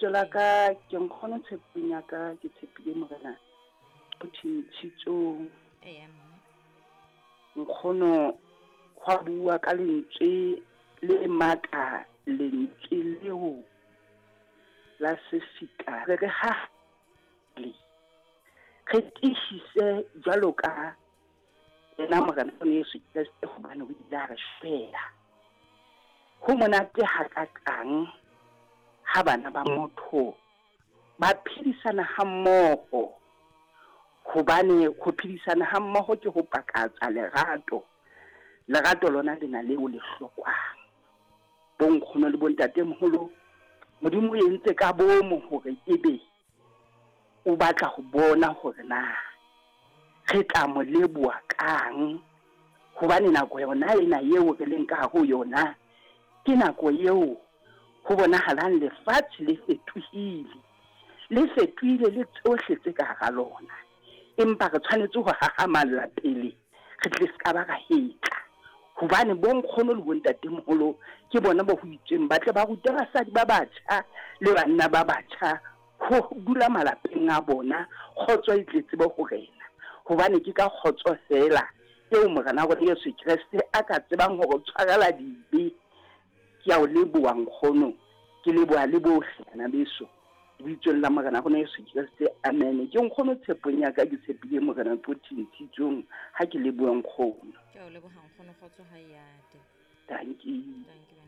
Lebitso la ka ke Nkgono Tshepong ya ka, ke tshepile Morena o thintshitsong. Eya mme. Nkgono hwa bua ka lentswe le matla, lentswe leo la sefika re re ha le re tiisise jwalo ka yena Morena Jesu Kreste hobane o ile a re shwela. Ho monate hakakang ha bana ba motho ba phedisana hammoho, hobane ho phedisana hammoho ke ho pakatsa lerato. Lerato lona lena leo le hlokwang. Bonkgono le bontatemoholo, Modimo o entse ka bomo hore ebe o batla ho bona hore na re tla mo leboha kang, hobane nako yona ena eo re leng ka hare ho yona ke nako eo ho bonahalang lefatshe le fetohile, le fetohile le tsohle tse ka hara lona. Empa re tshwanetse ho hahamalla pele re tle se ka ba ra hetla, hobane bonkgono le bontatemoholo ke bona ba ho itsweng ba tle ba rute basadi ba batjha le banna ba batjha ho dula malapeng a bona, kgotso e tle tsebe ho rena. Hobane ke ka kgotso feela eo Morena wa rona Jesu Kreste a ka tsebang ho re tshwarela dibe. Ke a o leboha nkgono, ke leboha le bohle bana beso, lebitsong la Morena rona Jesu Kreste, amen. Ke nkgono tshepong ya ka, ke tshepile Morena Qothing Tshitsong, ha ke lebohe nkgono. Ke a o leboha nkgono, kgotso ha e ate. Dankie. Dankie wena.